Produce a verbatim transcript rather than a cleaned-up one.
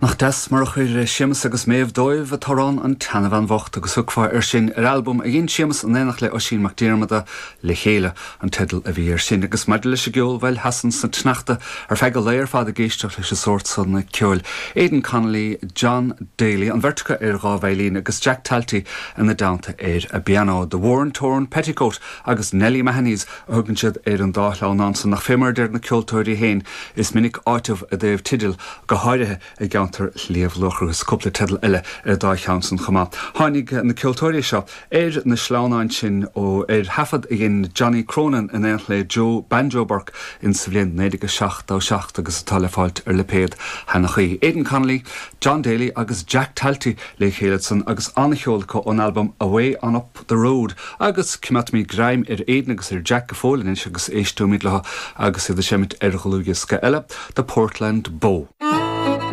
Nach deas mar a chuir Séamus agus Méabh dóibh an t-amhrán an tSeanbhean Bhocht agus thiocfá air sin ar albam a dhein Séamus in éineacht le Oisín Mac Diarmada le chéile an teideal a bhí air sin agus maidir leis an gceol bhuel sheasfainn sa tsneachta ar feadh an lae ar fad ag éisteacht leis an sórt san ceoil. Aidan Connolly, John Daly, an bheirt acu ar dhá veidhlín agus Jack Talty ina dteannta ar an bpianó. The Worn Torn Petticoat agus Nelly Mahoney's a thugann siad ar an dá shleamhnán san nach fé mar a deir na ceoltóirí féin is minic áiteamh i dtaobh teideal go háirithe i gceantar Shliabh Luachra agus cúpla teideal eile ar dá cheann san chomh maith. Tháinig na ceoltóirí seo ar na sleamhnáin sin ó ar thaifead a dhein Johnny Cronin in éineacht le Joe Banjo Burke in sa bhliain naoi déag seachtó seacht agus atá le fáilt ar lipéad Shanachie. Aidan Connolly, John Daly agus Jack Talty le chéile san agus an-cheol acu ón albam Away on Up the Road agus coimeádfaimid greim ar Aidan agus ar Jack go fóill anois agus éisteoimid leo agus iad ag seinnt ar dhlúthdhiosca eile, The Portland Bow.